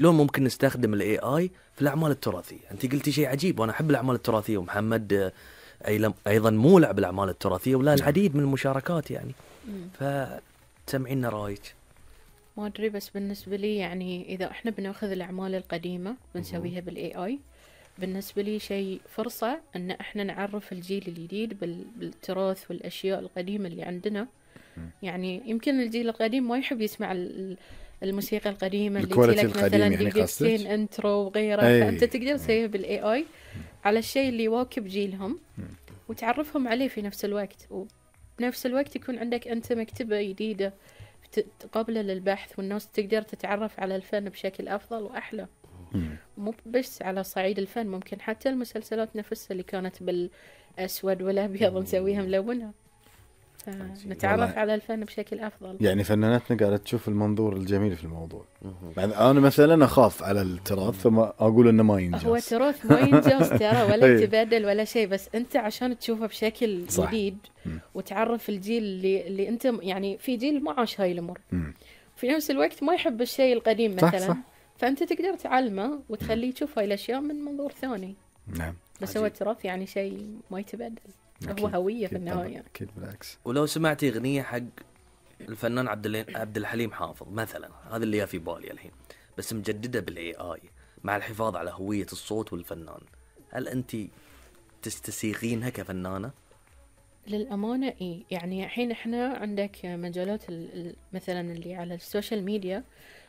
شلون ممكن نستخدم الاي اي في الاعمال التراثيه. انت قلتي شيء عجيب، وانا احب الاعمال التراثيه، ومحمد ايضا مولع بالاعمال التراثيه ولا العديد من المشاركات يعني. فتسمعينا رايك. ما ادري، بس بالنسبه لي يعني اذا احنا بناخذ الاعمال القديمه بنسويها بالاي اي، بالنسبه لي شيء فرصه ان احنا نعرف الجيل الجديد بالتراث والاشياء القديمه اللي عندنا. يعني يمكن الجيل القديم ما يحب يسمع الموسيقى القديمة اللي تلك مثلا يعني دقيقتين انترو وغيره، فأنت تقدر تسويها بالاي اي على الشيء اللي يواكب جيلهم وتعرفهم عليه في نفس الوقت، وبنفس الوقت يكون عندك أنت مكتبة جديدة قابلة للبحث، والناس تقدر تتعرف على الفن بشكل أفضل وأحلى. مو بس على صعيد الفن، ممكن حتى المسلسلات نفسها اللي كانت بالأسود والأبيض نسويها ملونة، نتعرف على الفن بشكل أفضل. يعني فناناتنا قاعدة تشوف المنظور الجميل في الموضوع. أنا مثلا أخاف على التراث ثم أقول إنه ما ينجز. هو التراث ما ينجز ترى ولا يتبادل ولا شيء، بس أنت عشان تشوفه بشكل جديد وتعرف الجيل اللي أنت يعني في جيل ما عاش هاي الأمور، في نفس الوقت ما يحب الشيء القديم مثلا، صح. فأنت تقدر تعلمه وتخليه يشوف هاي الأشياء من منظور ثاني. نعم. بس هو التراث يعني شيء ما يتبادل، هو هوية في النهاية. أكيد بالعكس. ولو سمعتي أغنية حق الفنان عبد الحليم حافظ مثلا، هذا اللي في بالي الحين، بس مجددة بالاي اي مع الحفاظ على هوية الصوت والفنان، هل أنت تستسيغينها كفنانة؟ للأمانة إيه، يعني الحين إحنا عندك مجالات مثلا اللي على السوشيال ميديا،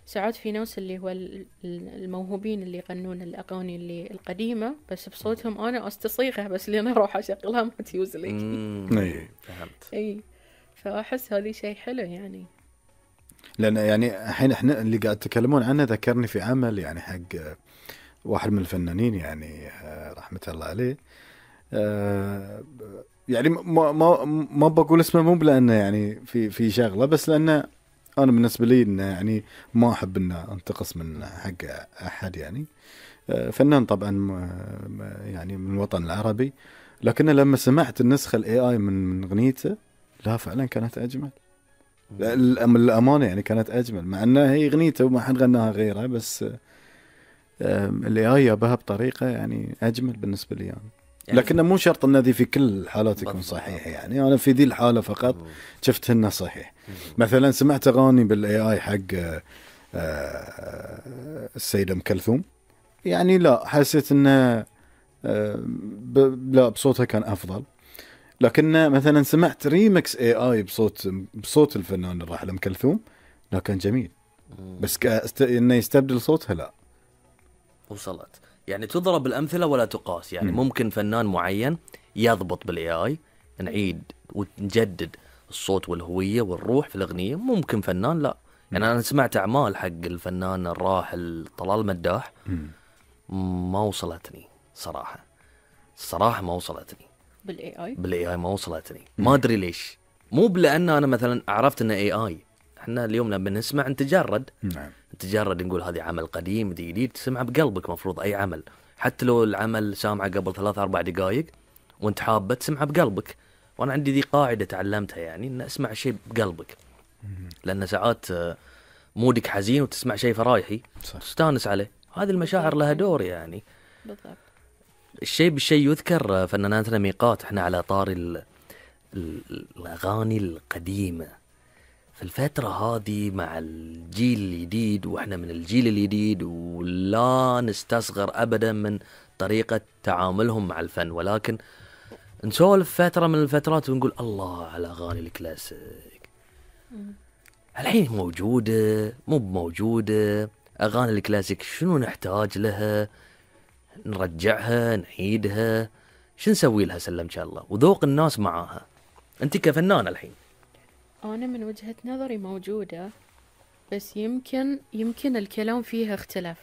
ساعات في ناس اللي هو الموهوبين اللي يغنون الأغاني اللي القديمة بس بصوتهم أنا أستصيغها، بس اللي أنا أروح أشغلها ما تيوز لي. فهمت. إيه، فأحس هذه شيء حلو يعني. لأن يعني الحين إحنا اللي قاعد تكلمون عنه ذكرني في عمل يعني حق واحد من الفنانين يعني رحمة الله عليه. يعني ما بقول اسمه مو لأنه يعني في شغلة، بس لأنه أنا بالنسبة لي إنه يعني ما أحب إن أنتقص من حق أحد يعني. فنان طبعا يعني من الوطن العربي، لكن لما سمعت النسخة الاي اي من أغنيته، لا فعلا كانت أجمل. الأمانة يعني كانت أجمل، مع أنها هي أغنيته وما حد غناها غيرها، بس الاي اي يابها بطريقة يعني أجمل بالنسبة لي يعني. لكن مو شرط ان ذي في كل الحالات يكون صحيح يعني. انا في ذي الحاله فقط شفت انه صحيح. مثلا سمعت اغاني بالاي اي حق السيده ام كلثوم، يعني لا حسيت انه لا بصوتها كان افضل. لكن مثلا سمعت ريمكس اي اي بصوت الفنان الراحل ام كلثوم، لا كان جميل، بس انه يستبدل صوتها لا. وصلت يعني تضرب الأمثلة ولا تقاس يعني. ممكن فنان معين يضبط بالاي اي، نعيد ونجدد الصوت والهوية والروح في الأغنية، ممكن فنان لا. يعني أنا سمعت أعمال حق الفنان الراحل طلال مداح، ما وصلتني صراحة ما وصلتني بالاي اي ما وصلتني. ما أدري ليش، مو لأن أنا مثلا عرفت إنه اي اي. احنا اليوم لما نسمع نتجرد، نتجرد نقول هذه عمل قديم جديد، تسمع بقلبك. مفروض أي عمل حتى لو العمل سامعه قبل 3-4 دقائق وانت حابة تسمعه بقلبك. وانا عندي ذي قاعدة تعلمتها يعني، ان اسمع شيء بقلبك، لان ساعات مودك حزين وتسمع شيء فرايحي تستانس عليه. هذه المشاعر لها دور يعني. بالضبط. الشيء بالشيء يذكر. فناناتنا ميقات، احنا على طار الاغاني القديمة في الفترة هذه مع الجيل الجديد، واحنا من الجيل الجديد ولا نستصغر ابدا من طريقة تعاملهم مع الفن، ولكن نسولف فترة من الفترات ونقول الله على اغاني الكلاسيك. الحين موجودة مو موجودة اغاني الكلاسيك، شنو نحتاج لها؟ نرجعها نعيدها؟ شو نسوي لها؟ سلمك الله. وذوق الناس معاها. انت كفنان الحين، أنا من وجهة نظري موجودة، بس يمكن الكلام فيها اختلف.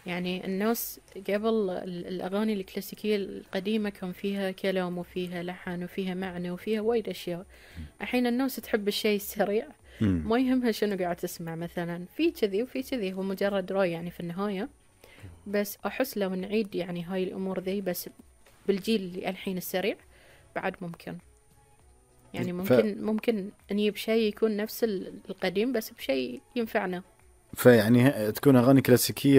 يعني الناس قبل الأغاني الكلاسيكية القديمة كان فيها كلام وفيها لحن وفيها معنى وفيها وايد أشياء. الحين الناس تحب الشيء السريع، ما يهمها شنو قاعد تسمع. مثلا في كذي وفي كذي، هو مجرد رأي يعني في النهاية. بس أحس لو نعيد يعني هاي الأمور ذي بس بالجيل اللي الحين السريع بعد ممكن يعني. ممكن نجيب شيء يكون نفس القديم بس بشيء ينفعنا. فيعني تكون اغاني كلاسيكيه